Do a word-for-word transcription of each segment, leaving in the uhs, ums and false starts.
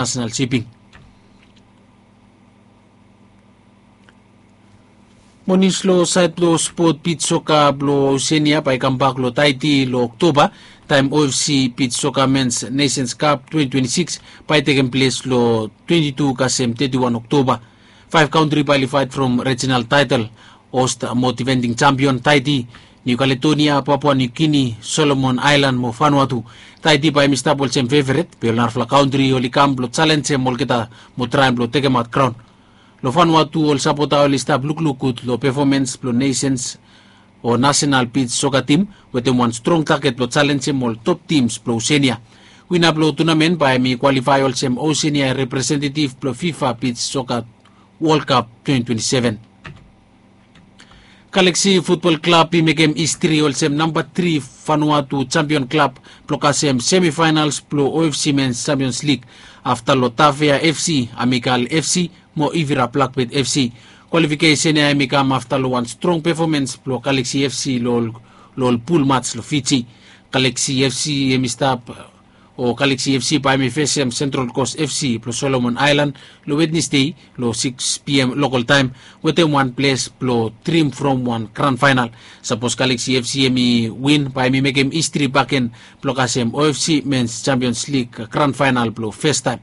National Shipping. Mo nius long saed blong spot, bit soka blong Osenia bae i kambak long Taiti long Oktoba, taem OFC bit soka Men's Nations Cup twenty twenty-six bae i tekem ples long twenty-two kasem thirty-one Oktoba. Faef kantri bae oli faet from regional taetol, host mo defending champion Taiti, New Caledonia, Papua New Guinea, Solomon Island mo Vanuatu. Taiti bae hemi stap olsem feveret, be ol narafala kantri oli kam blong jalenjem olgeta mo traem blong tekemaot kraon. Long Vanuatu ol sapota oli stap lukluk gud long pefomens blong Nations o nasenal bit soka tim, wetem wan strong taget blong jalenjem ol top tims blong Osenia. Wina blong tunamen bae hemi kwalifae olsem Osenia representetiv blong FIFA bit soka World Cup twenty twenty-seven. Galaxy Futbol Klab i mekem histri olsem namba tri Vanuatu jampion klab blong kasem semifaenals blong OFC Men's Champions League, afta long Tafea FC, Amikal FC mo Ivira Blakbet FC. Kwalifikesen ya hemi kam afta long wan strong pefomens blong Galaxy FC long ol pul mats long Fiji. Galaxy FC hemi stap o Galaxy FC bae hemi fesem Central Coast FC blong Solomon Island long Wednesday long six p.m. lokol taem, wetem wan ples blong drim from wan gran faenal. Sapos Galaxy FC hemi win, bae hemi mekem histri bakegen blong kasem OFC Men's Champions League gran faenal blong festaem.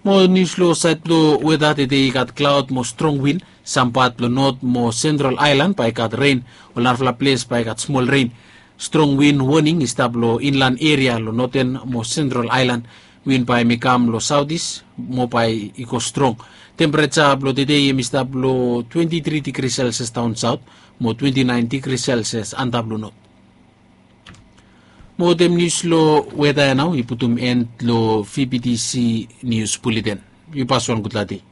Mo nius long saed blong weta, tede i gat klaod mo strong win. Sam pat blong Not mo Central Island bae i gat ren. Ol narafala ples bae i gat smol ren. Strong win woning i stap long inlan eria long Noten mo Central Island. Win bae hemi kam long saotis mo bae i go strong. Tempereja blong tede hemi stap long twenty-three degrees Celsius daon saot mo twenty-nine degrees Celsius antap long Not. Mo wetem nius long weta ya nao i putum en long VBTC Nius Buleten. Yu pas wan gudfala dei.